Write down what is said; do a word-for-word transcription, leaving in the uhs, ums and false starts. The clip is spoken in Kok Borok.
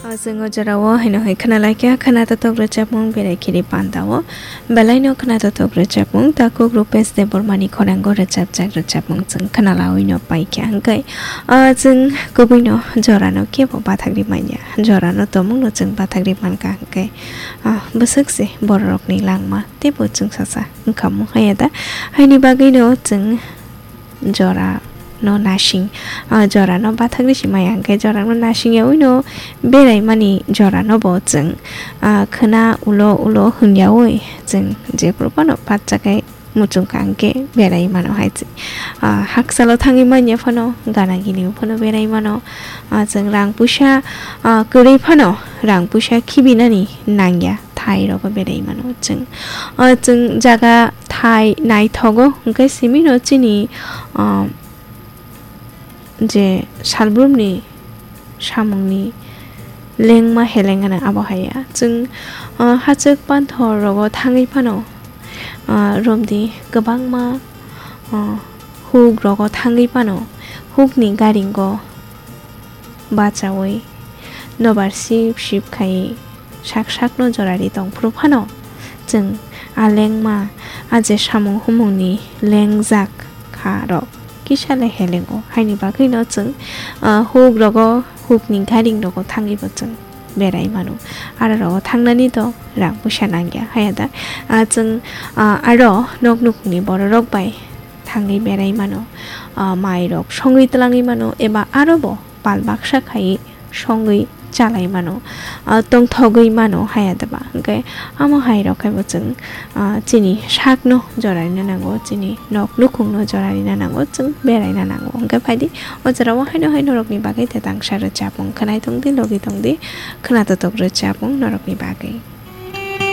Chwng o jorao haino hai khwnalaikha khwnatotok rwchapmung Berai Khiri Panda o. Belaino khwnatotok rwchapmung takhuk Rupesh Debbarmani khorang o rwchapjak rwchapmung chwng khwnalawi no paikha hwnkhe, ah, chwng kubui no jorano kebo bathakri manya, jorano tongmung no chwng bathakri mankha hwnkhe, ah, bwswk se bororokni langma teibo chwngsacha wngkha mung haya da. Haini bagwi no chwng jora no nasing, ah, jora no bathakri si maya hwnkhe jora no nasing yaui no berai mani jora no bo chwng, ah, khwna ulo ulo hwnyaui chwng jephru phano bachakhai muchungkha hwnkhe berai mano hai se. Ah, hakchalo thangwi manya phano gana gini phano berai mano. Ah, chwng rang puisa, ah, kwrwi phano rang puisa khibinani nangya. Thai rogo berai mano chwng. O chwng jaga thai naithogo hwnkhe simi no chini, o, je salbrumni samungni lengma heleng gana abo hai ya. Chwng, o, hachwk panthor rogo thangwi phano, o, romdi kwbangma, o, huk rogo thangwi phano hukni garingo bachaui nobar sip sip khai sak sakno jorari tongphuru phano chwng a lengma a je samung humungni lengjak kha rok kisa le helengo haini bagwino chwng, ah, huk rogo hukni garing rogo thangwibo chwng berai mano. Aro rogo thangnani to rang puisa nangya haya da. Ah, chwng, ah, aro nok nukungni bororok bai thangwi berai mano, ah, mai rok songwi twlangwi mano eba aro bo pal baksa khai songwi chalai mano, ah, tongthogwi mano haya deba. Hwnkhe amo hai rok khai bo chwng, ah, chini sakno jorarina nango, chini nok nukhungno jorarina nango, chwng beraina nango. Hwnkhe phaidi o jorao haino hai norokni bagwi te tangsa rwchapmung khwnai tongdi, logi tongdi, khwnatotok rwchapmung norokni bagwi.